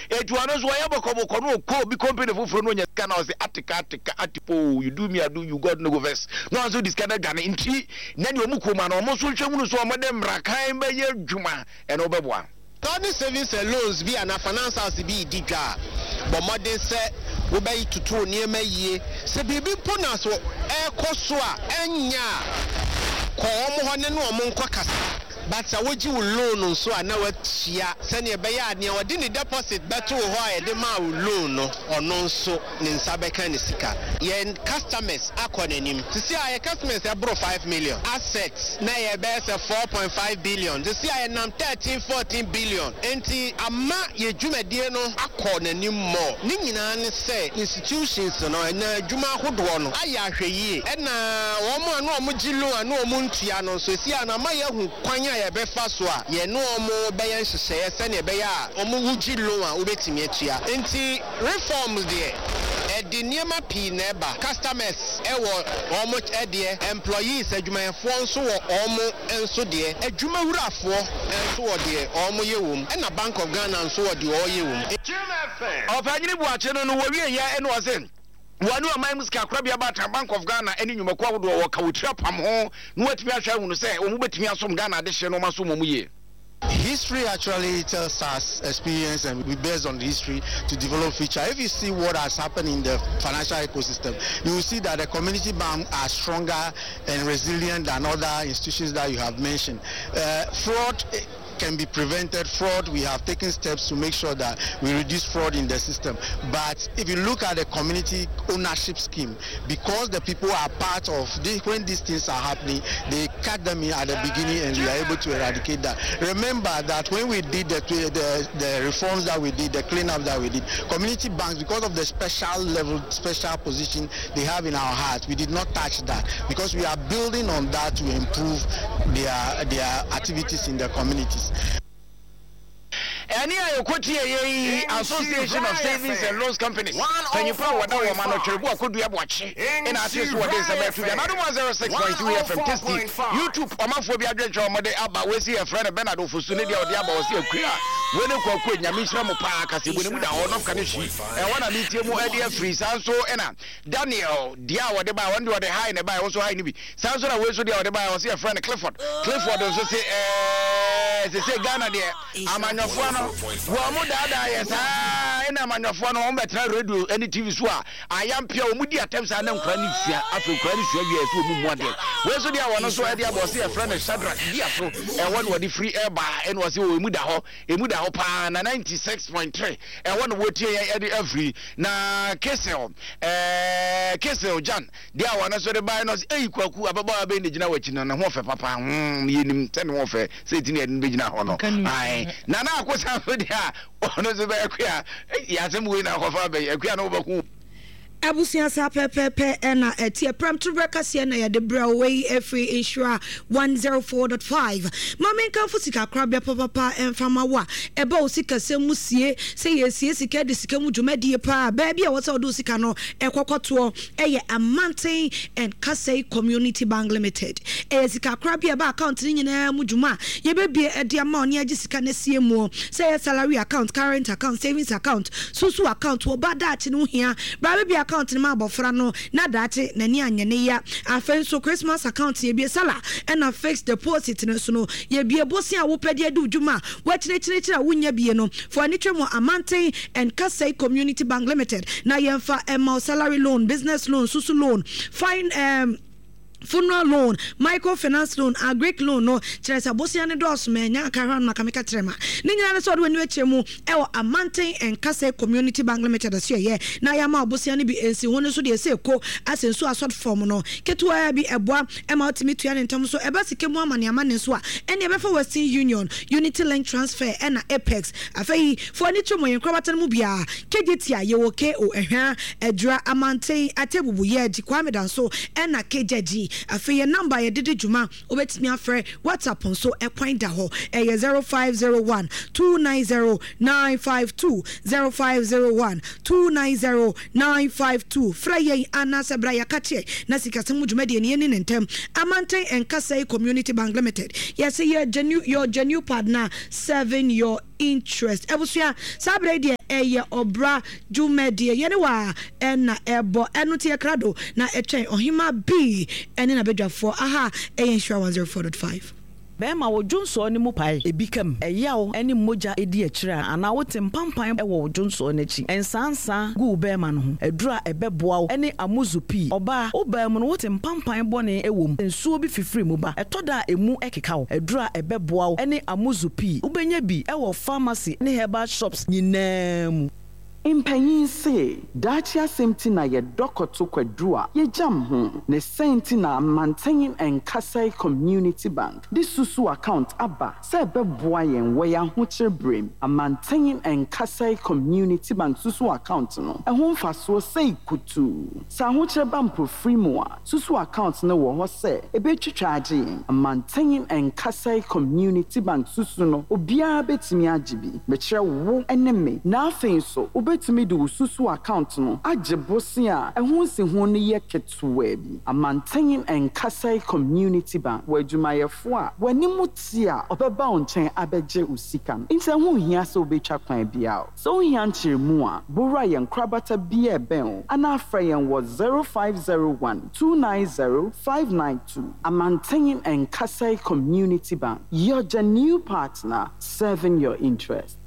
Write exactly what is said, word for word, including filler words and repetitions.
Eti ɔno nso ɔyɛ bɔkɔbɔkɔ no, ɔkɔ obi company foforɔ no, ɔnya sika na ɔsɛ atika atika atipo, you do me, I do you, God no go vex, na ɔno nso de sika no adwane. Nti na deɛ ɔmo kurom ano, ɔmo nso nhwɛ hunu so ɔmo de mmarakan bɛyɛ adwuma, ɛno bɛboa. Sɛ savings and loans bi anaa finance house bi di dwa a, bɔ mmɔden sɛ wobɛyi toto nneɛma yie. Sɛ biribi mpo na so ɛrekɔ so a ɛnyɛ a, kɔ wɔn hɔ ne ne wɔn nkɔ kasa. But sɛ wogye wo loan nso a, na watua sɛnea ɛbɛyɛ a nea ɔde ne deposit bɛto wo hɔ a yɛde maa wo loan no, ɔno nso ne nsa bɛka ne sika. Yɛn customers akɔ n'anim. Sisi a yɛ customers ɛboro five million, assets na yɛbɛyɛ sɛ four point five billion. Sisi a yɛnam thirteen fourteen billion. Nti ama yɛ dwumadie no akɔ n'anim mɔ. Ne nyinaa ne sɛ institutions no ɛna adwuma ahodoɔ no ayɛ ahwɛ yie, ɛna wɔn a na wɔn gye loan a na wɔn ntua no nso, esi a na ama yɛahu kwan a yɛbɛfa so a yɛne wɔn bɛyɛ nhyehyɛeɛ sɛnea ɛbɛyɛ a wɔn wogye loan a, wobɛtumi atua. Nti reforms deɛ, ɛde nneɛma pii na ɛba. Customers ɛwɔ wɔn ɛdeɛ, employees, adwumayɛfoɔ nso wɔ wɔn nso deɛ, adwumawurafoɔ nso wɔ deɛ wɔn yɛ wɔm, ɛna Bank of Ghana nso wɔ deɛ ɔyɛ wɔm. Ɔpanyini Buakye no no wɔwie yɛ ɛna ɔse wɔne ɔman mu sika korabea baatan Bank of Ghana ne nnwumakuo ahodoɔ wɔka wɔ tiri apam ho na wɔatumi ahwɛ ahunu sɛ wɔn bɛtumi asom Ghana adehyeɛ no, wɔn asom wɔn yie. History actually tells us experience, and we based on history to develop future. If you see what has happened in the financial ecosystem, you will see that the community bank are stronger and resilient than other institutions that you have mentioned. Uh, fraud can be prevented. Fraud, we have taken steps to make sure that we reduce fraud in the system. But if you look at the community ownership scheme, because the people are part of this, when these things are happening, they cut them in at the beginning and we are able to eradicate that. Remember that when we did the, the, the reforms that we did, the cleanup that we did, community banks, because of the special level, special position they have in our hearts, we did not touch that because we are building on that to improve their, their activities in the communities. Ɛne a yɛkɔtie yɛyi Association of Savings and Loans Companies panyimpa a wɔda wɔ ma no Twɛrebu Akodua Boakye ɛna ate so wɔde nsɛm ɛto dwa. Nadom one oh six point three F M, Tasty YouTube, ɔmanfoɔ bi adwenkyerɛ ɔmɔde aba. Wɔsi yɛfrɛ no Bernard Ofosu, ne deɛ ɔde aba, wɔ se akua wei ne Kwaku, Nyame nhyira mo paa, kasɛbu ne mu da hɔ nɔfka ne hyi ɛhɔ na metie mu ɛde afiri. Saa nso ɛna Daniel deɛ a wɔde baa, wɔn deɛ ɔde hae na ɛbaa, wɔn nso hae no bi. Saa nso na wei nso deɛ ɔde baa, wɔsi yɛfrɛ no Clifford. Clifford nso se ɛɛ sese Ghana deɛ, amanyɔfoɔ no wɔn mo daadaa yɛ saa, ɛna amanyɔfoɔ no wɔn bɛtena radio ɛne T V so a ayampia wɔn di atɛm saa na nkura ne sua. Afei nkura ne sua wie so wɔn mu mu adeɛ. Wei nso deɛ wɔn nso ɛde abɔ, ɔsi yɛfrɛ no Shadrack di aso, ɛhɔ na wɔde firi ɛba, ɛna ɔsi wɔ emu da hɔ, emu da hɔ paa na ninety six point three ɛhɔ na wɔtie yɛn ɛde afiri. Na Kesel ɛɛ Kesel Jan deɛ a wɔn nso de baeɛ no, ɔsi eyi Kwaku, ababaawa bɛyi na gyina wɔ akyi no, ne ho ɔfɛ papa. hmm yɛnim sɛ ne ho ɔfɛ sɛ eti na yɛde no bɛgyina hɔ no. Ayi Nana Akosa nso deɛ a ɔno nso bɛyɛ akua yasɛm wei na akɔfa abɛyɛ akua no wɔbɛko. Abusua, saa pɛpɛɛpɛ ɛna ɛteɛ. Prɛmtoberɛ kaseɛ na yɛde brɛ wo wei ɛfiri Nhyira one oh four point five. Ma menkamfo sika korabea papapa ɛmfama wo a ɛba wo sikasɛm mu sie sɛ yɛsie sika de sika mu dwumadie paa. Baabi a wɔ sɛ wode wo sika no ɛkɔkɔtoɔ ɛyɛ Amanten and Kasɛi Community Bank Limited. Ɛyɛ sika korabea ɛba account no nyinaa mu dwuma a yɛbɛbie ɛde ama wo ne agye sika no asie muɔ, sɛ ɛyɛ salary account, current account, savings account, susu account. Wɔ ba daakye no ho hia bra bɛbi account no ma abɔfra no na daakye n'ani anyɛ ne ya. Afei nso Christmas account yɛbie, sala ɛna fixed deposit no nso no yɛbie. Bosia a wopɛ de adi dwuma a wɔakyerɛkyerɛkyerɛ a wonya bie no fo ani twɛ mu Amanten and Kasɛi Community Bank Limited na yɛmfa ɛma wo salary loan, business loan, susu loan, fine, um, funeral loan, microfinance loan, agric loan no. Kyerɛ sɛ bosia ne dɔɔso ma ɛnya aka hɔ no maka meka kyerɛ ma ne nyinaa ne sɛ ɔde w'ani akyerɛ mu ɛwɔ Amanten Nkasɛ Community Bank Limited so. Ɛyɛ na yɛama ɔbosia no bi nsi ho no so deɛ ɛsɛ ɛko asɛ nsu asɔt fam no ketewaa bi ɛboa ɛma wotumi tua ne ntam so. Ɛba sika mu amane amane nso a, ɛne ɛbɛfa Western Union, Unity Link Transfer ɛna Apex. Afei fo ani kyerɛ mu yɛn nkorabata no mu biara kegye a yɛwɔ ko ɛhwɛ Adwira, Amanten, Atebubu, Yɛgye Kwame Danso ɛna Kegyagyi. Afei yɛn number yɛde di dwuma, wobɛtumi afrɛ, WhatsApp nso ɛkwan da hɔ, ɛyɛ zero five zero one two nine zero nine five two, zero five zero one two nine zero nine five two. Frɛ yɛn anaasɛ bra yɛaka kyerɛ na sikasɛm mu dwumadie no yɛni ne ntɛm. Amanten Nkasɛi Community Bank Limited, yɛsɛ yɛ genuine, your genuine partner serving your interest. Abusua, saa berɛ yi deɛ ɛyɛ ɔbra dwumadie yɛne wa ɛna ɛbɔ ɛno nti yɛkra do na ɛtwɛn ɔhema bi ɛne n'abadwafoɔ. Aha ɛyɛ Nhyira one oh four point five. Bɛrima, wo dwonsɔɔ no mu pae, ebi kam, ɛyaw ne mogya edi akyire a, anaa wote mpampan wɔ wo dwonsɔɔ no akyi, nsansa gu wo bɛrima no ho, aduru a ɛbɛboa wo ne Amuzu Pii. Ɔbaa, wo baa mu no wote mpampan bɔne wɔ mu, nsuo bi fifiri mu ba, ɛtɔ da a emu keka wo, aduru a ɛbɛboa wo ne Amuzu Pii. Wobɛnya bi wɔ pharmacy ne herbal shops nyinaa mu. Mpanyin se daakye asɛm ti na yɛdɔ kɔto kwaduru a yɛgyam ho ne sɛn nti na Amanten Nkasɛe Community Bank de susu account aba sɛ ɛbɛboa yɛn wɔ yɛn ahokyere berem. Amanten Nkasɛe Community Bank susu account no, ɛho mfasoɔ sɛi kutuu. Sɛ ahokyere ba mpofiri mu a, susu account no wɔ hɔ sɛ ɛbɛtwitwa agye yɛn. Amanten Nkasɛe Community Bank susu no, obiara bɛtumi agye bi, mekyerɛ wo ne me, na afei nso wobɛtumi de wo susu account no agye bose a ɛho nsiho no yɛ ketewa bi. Amanten Nkasɛe Community Bank wɔ adwumayɛfoɔ a w'anim te a ɔbɛba wo nkyɛn abɛgye wo sika no, nti ɛho nhia sɛ wobɛtwa kwan biara. Sɛ wohia nkyerɛmu a, bowura yɛn korabata bi a ɛbɛn wo anaa frɛ yɛn wɔ zero five zero one two nine zero five nine two. Amanten Nkasɛe Community Bank, your genuine partner serving your interest.